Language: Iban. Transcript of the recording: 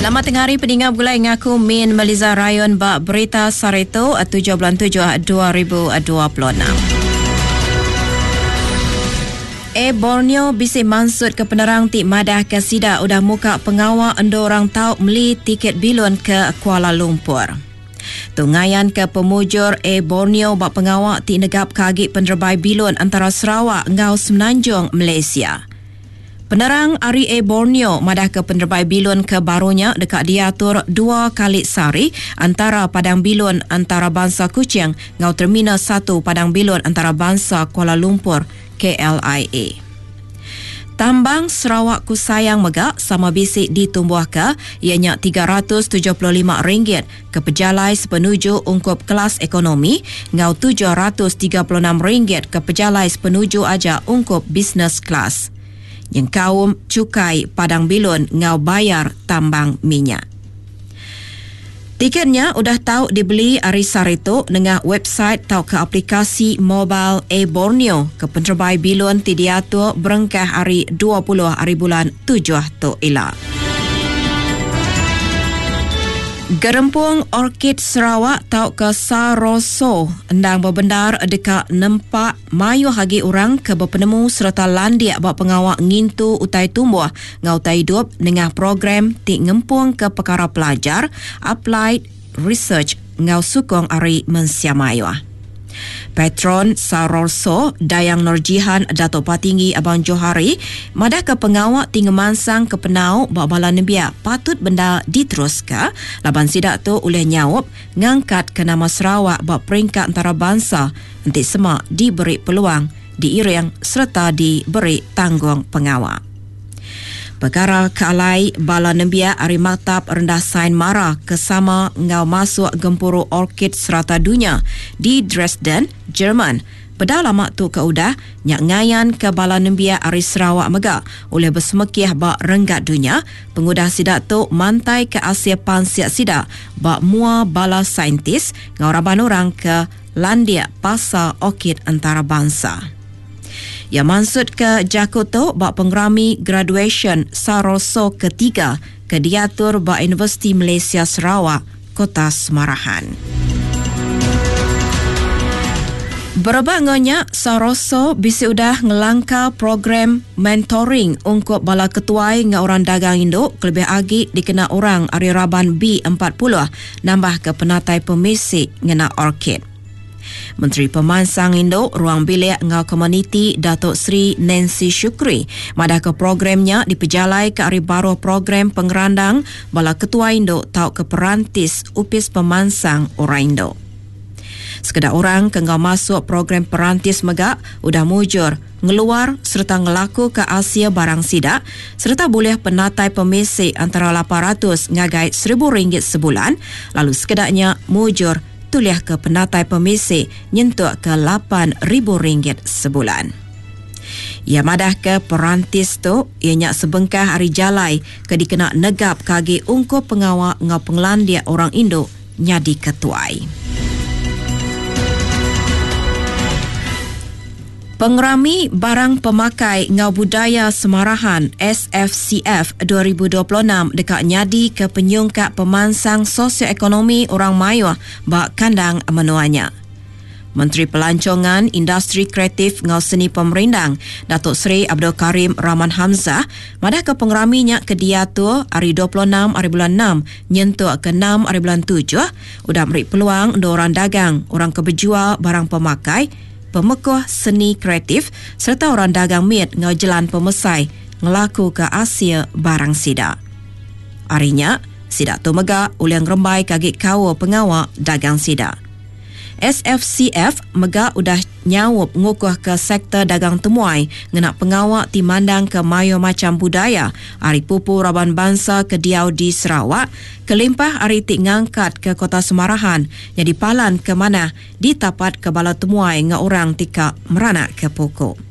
Selamat tengah hari peninga begulai ngaku Min Meliza Rayon ba Berita Sehari tu 7 bulan 7 2026. Air Borneo bisi mansutka penerang ti madahka sida udah muka pengawa endur orang tau meli tiket bilun ke Kuala Lumpur. Tu ngayanka pemujur Air Borneo ba pengawa ti negapka agi penerebai bilun antara Sarawak enggau Semenanjung Malaysia. Penerang ari Air Borneo madahka penerebai bilun ke baru nya deka diatur dua kali sehari antara Padang Bilun Antarabansa Kuching enggau Terminal satu Padang Bilun Antarabansa Kuala Lumpur, KLIA. Tambang Sarawak Ku Sayang mega sama bisi ditumbuhka iya nya RM375 ke pejalai sepenuju ungkup kelas ekonomi enggau RM736 ke pejalai sepenuju aja ungkup business class nyengkaum chukai padang bilun enggau bayar tambang minyak. Tiket nya udah tau dibeli ari sehari tu nengah website tauka aplikasi mobile AirBorneo ke penerebai bilun ti diatur berengkah ari 20 hari bulan tujuh tu ila. Gerempung Orkid Sarawak tauka Saroso endang bebendar deka nempa mayuh agi orang ke bepenemu sereta landik ba pengawa ngintu utai tumbuh enggau utai idup nengah program ti ngempungka pekara pelajar, applied research enggau sukung ari mensia mayuh. Patron Sarorso, Dayang Norjihan Datuk Patinggi Abang Johari madahka pengawa ti ngemansangka penau ba bala nembiak patut bendar diteruska laban sida tu ulih nyaup ngangkatka nama Sarawak ba peringkat entarabansa enti sema diberi peluang, diiring sereta diberi tanggungpengawa. Pekara ke alai bala nembiak ari Maktab Rendah Sain Mara ke sama enggau masuk Gempuru Orkid Serata Dunya di Dresden, Jerman, peda lama tu ke udah nya ngayanka bala nembiak ari Sarawak mega ulih besemekih ba renggat dunya pengudah sida tu mantaika asil pansik sida ba mua bala saintis enggau raban orang ke landik pasal orkid entarabansa. Iya mansutka jaku tu ba pengerami graduasyen Saroso ketiga ke diatur ba Universiti Malaysia Sarawak, Kota Semarahan. Berebak enggau nya, Saroso bisi udah ngelangkar program mentoring ungkup bala ketuai enggau orang dagang indu kelebih agi dikena orang ari raban B 40 nambahka penatai pemisi ngena orkid. Menteri Pemansang Indu, Ruang Bilik enggau Komuniti Datuk Seri Nancy Shukri madahka program nya dipejalaika ari baruh program pengerandang bala ketuai indu tauka perantis Opis Pemansang Orang Indu. Sekeda orang ke enggau masuk program perantis mega udah mujur ngeluar sereta ngelakuka asil barang sida sereta bulih penatai pemisi antara 800 ngagai RM1000 sebulan lalu sekeda nya mujur tulihka penatai pemisi nyentuk ke RM8,000 sebulan. Iya madahka perantis tu iya nya sebengkah ari jalai ke dikena negapka agi ungkup pengawa enggau pengelandik orang indu nyadi ketuai. Pengerami Barang Pemakai enggau Budaya Semarahan, SFCF, 2026 deka nyadika penyungkak pemansang sosioekonomi orang mayuh ba kandang menua nya. Menteri Pelancongan, Industri Kreatif enggau Seni Pemerindang, Datuk Seri Abdul Karim Rahman Hamzah madahka pengerami nya ke diatur ari 26 ari bulan enam nyentuk ke enam ari bulan tujuh udah meri peluang endur orang dagang, orang ke bejual barang pemakai, pemekuh seni kreatif sereta orang dagang mit enggau jelan pemesai ngelakuka asil barang sida. Ari nya, sida tu mega ulih ngerembaika agi kaul pengawa dagang sida. SFCF mega udah nyaup ngukuhka sektor dagang temuai ngena pengawa ti mandangka mayuh macham budaya ari pupu raban bansa ke diau di Sarawak kelimpah ari ti ngangkatka Kota Semarahan nyadi palan ke manah ditapatka bala temuai enggau orang ti ka meranakka puku.